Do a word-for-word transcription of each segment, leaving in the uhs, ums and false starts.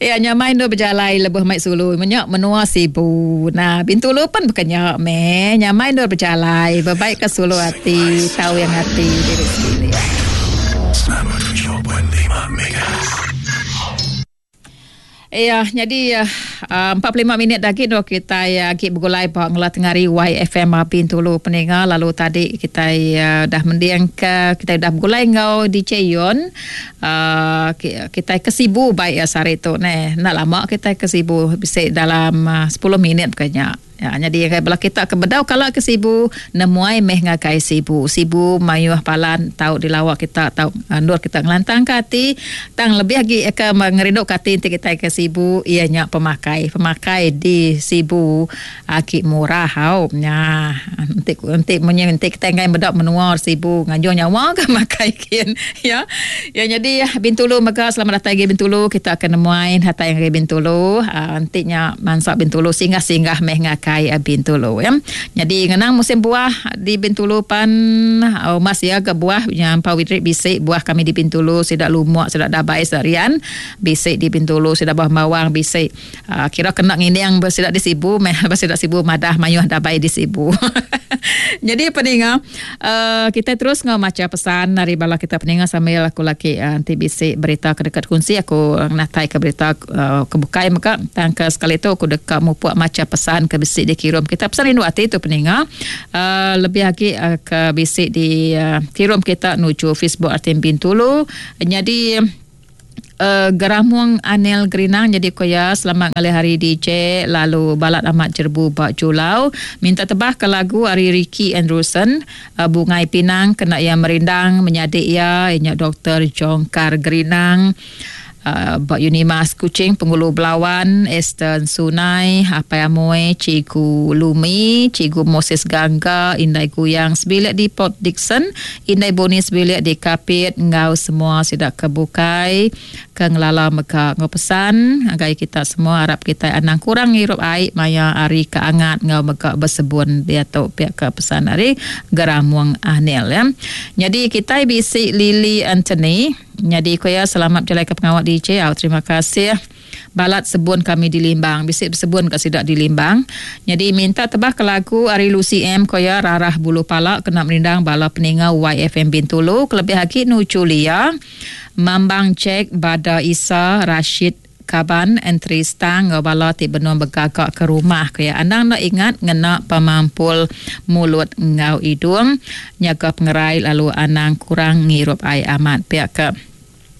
Ya nyamai nu berjalai lebuh mai sulu menyak menua Sibu. Nah, Bintulu pun bukannya me nyamai nu berjalai berbaik ke sulu hati tahu yang hati diri sendiri. Ya, jadi uh, empat puluh lima minit lagi do kita lagi uh, bergulai ba ngelah tengari Y F M Bintulu peninga. Lalu tadi kita uh, dah mendiang ke kita dah bergulai ngau D J Yon. Uh, kita ke Sibu baik ya sehari tu ne. Nak lama kita ke Sibu bisa dalam uh, sepuluh minit kayaknya. Ya, jadi belah kita ke bedau kalau ke Sibu nemuai meh ngagai Sibu. Sibu mayuh palan tau dilawak kita tau uh, nur kita ngelantang ke hati tang lebih lagi ke ngerinduk ke hati enti kita ke Sibu ianya pemakai. Pemakai di Sibu aki murah hau. Nya enti enti munyi enti kita ngai bedau menua Sibu ngajung nyawa ke makai kin ya. Ya jadi Bintulu mega selamat datang ke Bintulu kita akan nemuai hatai ngagai Bintulu uh, enti nya mansak Bintulu singgah-singgah meh ngagai kai Bintulu ya. Jadi ngenang musim buah di Bintulu pan oh, mas ya ke buah yang pawidrik bisik buah kami di Bintulu sidak lumuk sidak dabai sarian bisik di Bintulu sidak buah bawang bisik uh, kira kena nginiang bersidak di Sibu meh bersidak Sibu madah mayuh dabai di Sibu. Jadi peninga uh, kita terus ngau maca pesan dari bala kita peninga sambil aku lagi uh, nanti bisik berita ke dekat kunci aku natai ke berita uh, kebukai maka tangka sekali tu aku dekat mupuk maca pesan ke bisik dikirim kita pesan rindu hati tu peninga uh, lebih lagi uh, ke bisik di uh, kirim kita nuju Facebook R T M Bintulu. Jadi uh, Geramung Anil Gerinang jadi koya selamat ngalih hari D J lalu balat amat jerbu bak Julau minta tebah ke lagu ari Ricky Andrewson uh, Bungai Pinang kena ia merindang menyadik ia ianya Doktor Jongkar Gerinang. Uh, Bak Unimas Kuching Penghulu Belawan Eston Sunai Apai Amoy Cikgu Lumi Cikgu Moses Gangga Indai Guyang sebilik di Port Dickson Indai Boni sebilik di Kapit ngau semua sidak kebukai ke ngelala mega ngau pesan agai kita semua harap kita anang kurang ngirup air maya hari keangat ngau mega bersebun dia tu pihak ke pesan hari Geramung Anil ya. Jadi kita bisi Lily Anthony. Jadi koya selamat berjalan ke pengawal D J. Oh, terima kasih. Balat sebun kami di Limbang. Bisik bersebun kat sidak di Limbang. Jadi minta tebah ke lagu Ari Lucy M koya Rarah Bulu Palak kena merindang bala peninga Y F M Bintulu. Kelebih lagi Nucu Lia, Mambang Jack, Bada Isa, Rashid Kaban, Entry Stang, ngau bala ti benua begagak ke rumah. Kaya andang nak ingat ngena pemampul mulut ngau hidung, nyaga pengerai lalu anang kurang ngirup air amat. Pihak ke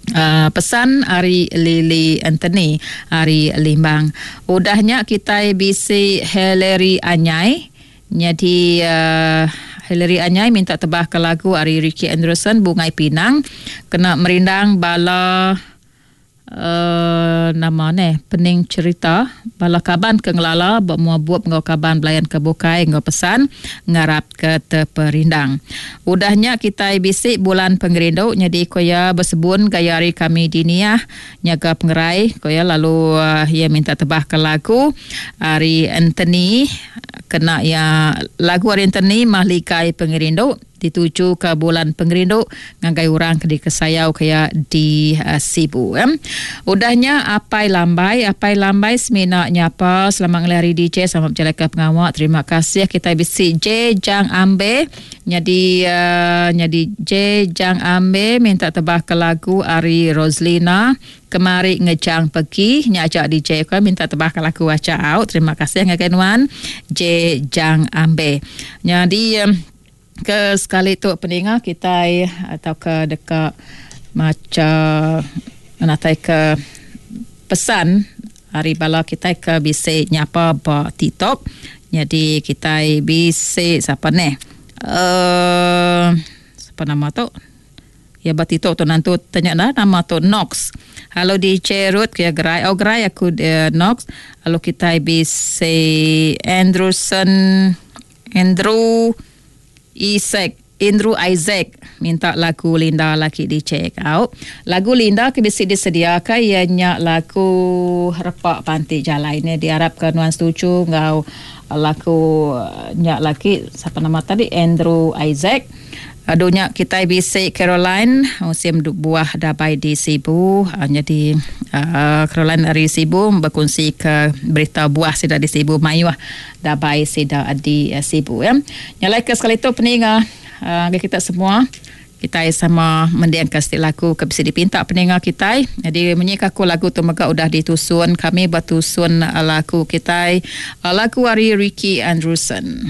Uh, pesan ari Lily Anthony ari Limbang. Udahnya kita bisi Hillary Anyai. Jadi uh, Hillary Anyai minta tebah ke lagu ari Ricky Anderson Bungai Pinang kena merindang bala Uh, nama ne pening cerita bala kaban ke ngelala buat muabup ngau kaban belayan ke bukai ngau pesan ngarap ke terperindang. Udahnya kita bisik bulan pengerindu jadi koya bersebun gaya hari kami diniah nyaga pengerai koya lalu uh, ia minta tebah ke lagu Ari Anthony kena ya lagu Ari Anthony Mahligai Pengerindu dituju ke bulan pengerindu ngagai orang ke dikesayau kaya di uh, Sibu ya. Udahnya apai lambai apai lambai semina nyapa selamat ngelih hari D J selamat berjalan ke pengawak terima kasih kita bisi J Jang Ambe jadi uh, jadi J Jang Ambe minta tebah ke lagu Ari Roslina kemari ngejang pergi nyajak D J ko minta tebah ke lagu aca out terima kasih ngagai nuan J Jang Ambe. Jadi um, ke sekali tu peninga kita atau ke dekat maca natai ke pesan hari bala kita ke bisi nyapa ba TikTok. Jadi kita bisi siapa ni? Uh, siapa nama tu? Ya ba TikTok tu nanti tanya dah nama tu Nox. Halo D J Ruth ke gerai. Oh gerai aku uh, Nox. Lalu kita bisi Andrewson Andrew Isaac Andrew Isaac minta lagu Linda laki di check out. Lagu Linda ke bisi disediakan ianya lagu Repak Panti Jalai ni diharapkan nuan setuju ngau lagu nyak laki siapa nama tadi Andrew Isaac. Adunya kita bisi Caroline musim buah dabai di Sibu. Jadi Uh, Caroline dari Sibu berkongsi ke berita buah sida di Sibu mayuh dabai sida di uh, Sibu ya. Nyalai ke sekali tu peninga uh, kita semua kita sama mendiang ke setiap lagu ke bisa dipinta peninga kita. Jadi menyika aku lagu tu mega udah ditusun kami bertusun lagu kita lagu ari Ricky Andrewson.